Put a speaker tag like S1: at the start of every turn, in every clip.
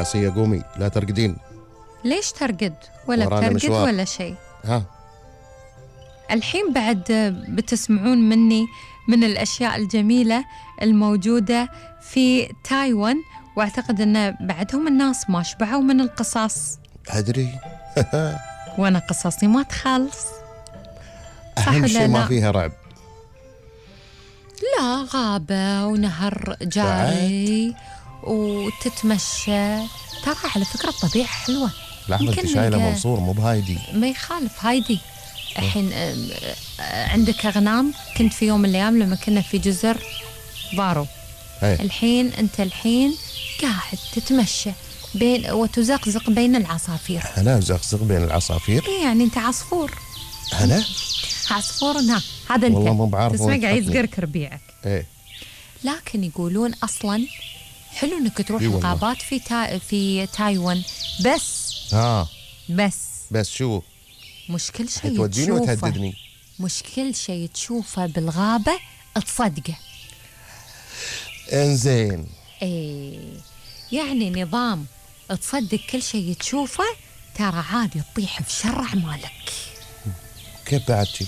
S1: آسيا قومي لا ترقدين.
S2: ليش ترقد؟ ولا
S1: ورانا
S2: بترقد
S1: مشوار.
S2: ولا شيء.
S1: ها
S2: الحين بعد بتسمعون مني من الأشياء الجميلة الموجودة في تايوان، وأعتقد أن بعدهم الناس ما شبعوا من القصص،
S1: أدري.
S2: وأنا قصصي ما تخلص.
S1: أهم
S2: ولا
S1: شيء ما
S2: لا؟
S1: فيها رعب.
S2: لا، غابة ونهر جاري وتتمشى. ترى على فكرة الطبيعة حلوة.
S1: لحظة، أنت
S2: يمكن
S1: شايلة
S2: نلقى-
S1: منصور مو بهايدي.
S2: ما يخالف هايدي. الحين عندك أغنام. كنت في يوم من الأيام لما كنا في جزر بارو.
S1: هي.
S2: الحين أنت قاعد تتمشى بين وتزقزق بين العصافير.
S1: أنا زقزق بين العصافير.
S2: إيه يعني أنت عصفور.
S1: أنا
S2: عصفور هذا أنت.
S1: والله مو بعرف
S2: تسمع
S1: وين
S2: قاعد
S1: تحطني.
S2: يزقرك ربيعك.
S1: إيه
S2: لكن يقولون أصلا حلو إنك تروح
S1: إي والله.
S2: الغابات في تايوان، بس
S1: شو
S2: مش كل شيء
S1: توديني
S2: تشوفه.
S1: وتهددني؟
S2: مش كل شيء تشوفه بالغابة تصدقه.
S1: إنزين.
S2: إيه يعني نظام تصدق كل شيء تشوفه، ترى عادي تطيح في شر أعمالك.
S1: كيف بعد شي؟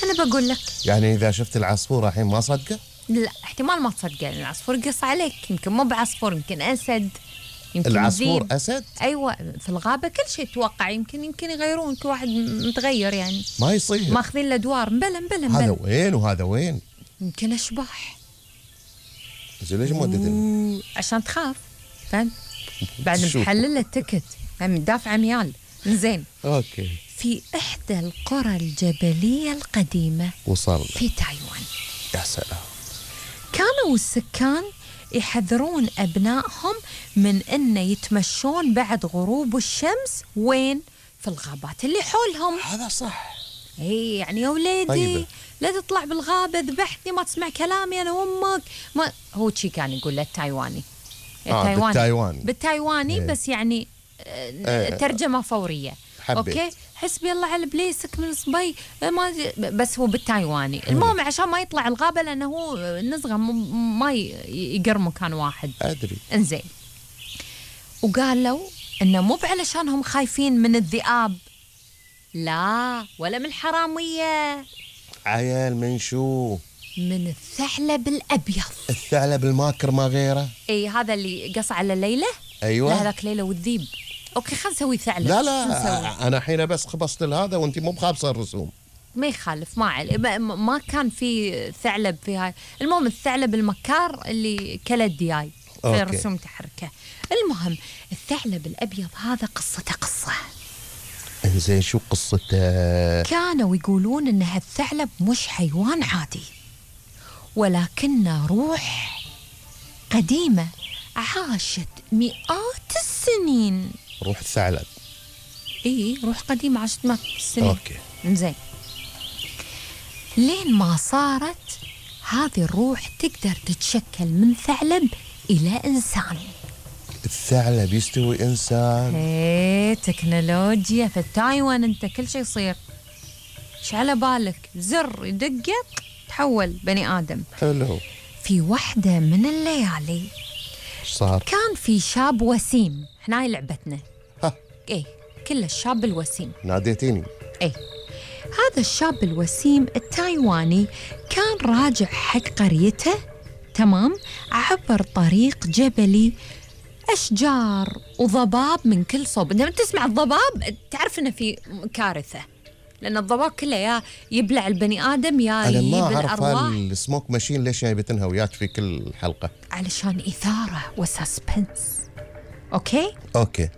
S2: أنا بقول لك
S1: يعني إذا شفت العصفور الحين ما صدقه؟
S2: لا، احتمال ما تصدقه لأن العصفور قص عليك. يمكن مو بعصفور، يمكن أسد، يمكن
S1: العصفور
S2: ذيب.
S1: أسد؟
S2: أيوة، في الغابة كل شيء توقع. يمكن يغيرون، كل واحد متغير يعني،
S1: ما يصير.
S2: ماخذين الأدوار. مبلا
S1: هذا وين وهذا وين؟
S2: يمكن أشباح.
S1: زين ليش موددني؟
S2: عشان تخاف، فهمت؟ بعد
S1: شوف.
S2: محلل التكت، دافع عميال. زين،
S1: أوكي
S2: في إحدى القرى الجبلية القديمة
S1: وصلنا.
S2: في تايوان،
S1: يا سلام.
S2: كانوا السكان يحذرون أبنائهم من أن يتمشون بعد غروب الشمس. وين؟ في الغابات اللي حولهم.
S1: هذا صح.
S2: اي يعني يا وليدي
S1: طيبة.
S2: لا تطلع بالغابة، ذبحتني، ما تسمع كلامي أنا وأمك. ما هو شي كان يقول له التايواني. بالتايواني
S1: إيه.
S2: بس يعني ترجمة فورية.
S1: حبيت.
S2: اوكي، حسبي الله على بليسك من صبي. ما بس هو بالتايواني. المهم عشان ما يطلع الغابة لأنه هو نزغة ما يقر مكان واحد.
S1: أدري.
S2: انزين، وقالوا إنه مو علشانهم خايفين من الذئاب، لا، ولا من الحرامية،
S1: عيال من شو؟
S2: من الثعلب الأبيض.
S1: الثعلب الماكر ما غيره.
S2: اي هذا اللي قص على ليلى.
S1: أيوة.
S2: لا، هذاك ليلى والذيب. اوكي، خلينا نسوي ثعلب.
S1: لا
S2: شو نسوي؟
S1: أنا حين بس خبصت لهذا وأنت مو بخابصة الرسوم.
S2: ما يخالف، ما كان في ثعلب في هاي. المهم الثعلب المكار اللي كل الدياي في
S1: أوكي.
S2: رسوم تحركه. المهم الثعلب الأبيض هذا قصته قصة.
S1: إنزين شو قصته؟
S2: كانوا يقولون إن هالثعلب مش حيوان عادي، ولكنه روح قديمة عاشت مئات السنين.
S1: روح الثعلب.
S2: إيه، روح قديمة عاشت مئات السنين.
S1: أوكي.
S2: زين، لين ما صارت هذه الروح تقدر تتشكل من ثعلب إلى إنسان.
S1: الثعلب يستوي إنسان؟
S2: ايه، تكنولوجيا في تايوان. انت كل شيء يصير، ايش على بالك؟ زر يدقق تحول بني آدم.
S1: حلو.
S2: في واحدة من الليالي
S1: إيش صار؟
S2: كان في شاب وسيم. احنا هاي لعبتنا.
S1: ها.
S2: ايه، كل الشاب الوسيم.
S1: ناديتيني.
S2: ايه، هذا الشاب الوسيم التايواني كان راجع حق قريته، تمام، عبر طريق جبلي، أشجار وضباب من كل صوب. لما تسمع الضباب تعرف إنه في كارثة، لأن الضباب كله يا يبلع البني آدم يا
S1: أنا
S2: يجيب
S1: ما أعرف
S2: الأرواح.
S1: السموك ماشين ليش جايبتنها وياك في كل حلقة.
S2: علشان إثارة وسسبنس. أوكي؟
S1: أوكي.